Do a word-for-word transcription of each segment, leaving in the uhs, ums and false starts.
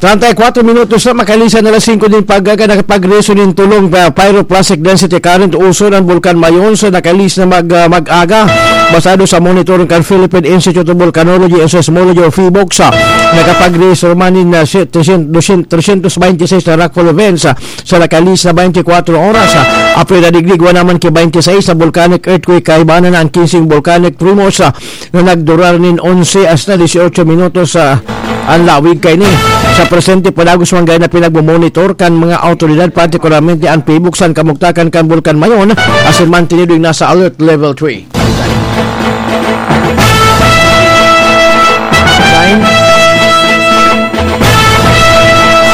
Treinta y cuatro minutos na makalisan na alas singko nin pag-aga, nakapag-reso nin tulong pa pyroclastic density current uso ng Bulkan Mayon sa nakalis na mag, ah, mag-aga. Basado sa monitoring kan Philippine Institute of Volcanology and Seismology o PHIVOLCS, ah, nakapag-reso man nin, ah, si-, trescientos, trescientos veintiseis na rockfall events, ah, sa nakalis na twenty-four oras. Ah, apre na digdig, igwa naman ki twenty-seis na volcanic earthquake, kaibanan na ang kinseng volcanic tremors, ah, na nagdurar nin onse hasta dieciocho minutos sa an lawig kaini. Sa presente, padagos man gaya na pinagmomonitor kan mga awtoridad, partikularmente an PHIVOLCS, an kamugtakan kan Bulkan Mayon, asin mantenido nasa alert level three.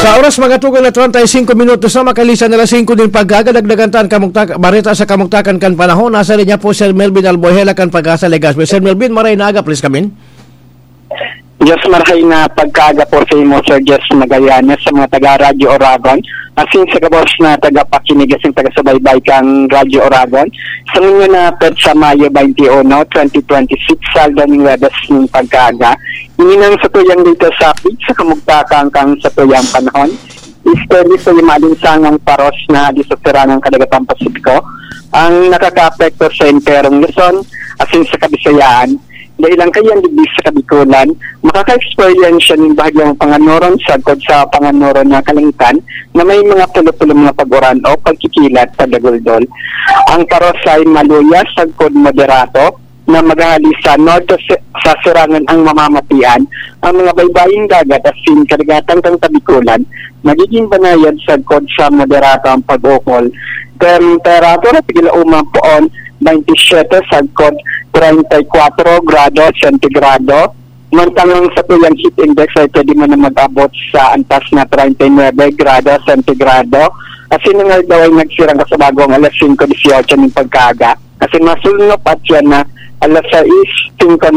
Sa oras, mga tugang na treinta y cinco minutos na makalisan na alas singko nin pag-aga, dagdagan ta an kamugtak-, bareta sa kamugtakan kan panahon. Nasa linya po, Sir Melvin Albuejela kan Pag-asa Legazpi. Sir Melvin, maray na aga, please come in. Yes, marahay na pagkaaga po sa imo, Sir Jess Magallanes, sa mga taga Radyo Oragon, asin sa gabos na tagapakinig asin taga-subaybay kan Radyo Oragon. Sa ngunyan na petsa, Mayo twenty-one, twenty twenty-six, Saldo ning Huwebes ning pagkaaga. Ini nang satuyang dito sa pig sa kamugtakan kan satuyang panahon. Easterly sa maalinsangang paros na hali sa sirangang kadagatan Pasipiko ang nakakaapekto sa enterong Luzon, asin sa Kabisayaan. Dahilan kaiyan digdi sa Kabikulan, makaka-eksperyensya nin bahagyang panganoron sagkod sa panganoron na kalangitan na may mga pulo-pulo mga pag-uran o pagkikilat, pagdaguldol. Ang paros ay maluya sagkod moderato na maghahali sa norte si-, sa sirangan ang mamamatian. Ang mga baybaying dagat asin kadagatan kan Kabikulan, magiging banayad sagkod sa moderato ang pag-ukol. Temperatura, tigil uma poon, twenty-seven sagkod treinta y cuatro grado sentigrado. Mantang ang satuyang heat index ay pwede man na mag-abot sa antas na treinta y nuebe grado sentigrado. Asin ang aldaw ay nagsirang kasabagong alas singko dieciocho nin pagkaaga. Asin masulnop at yan na alas sais singko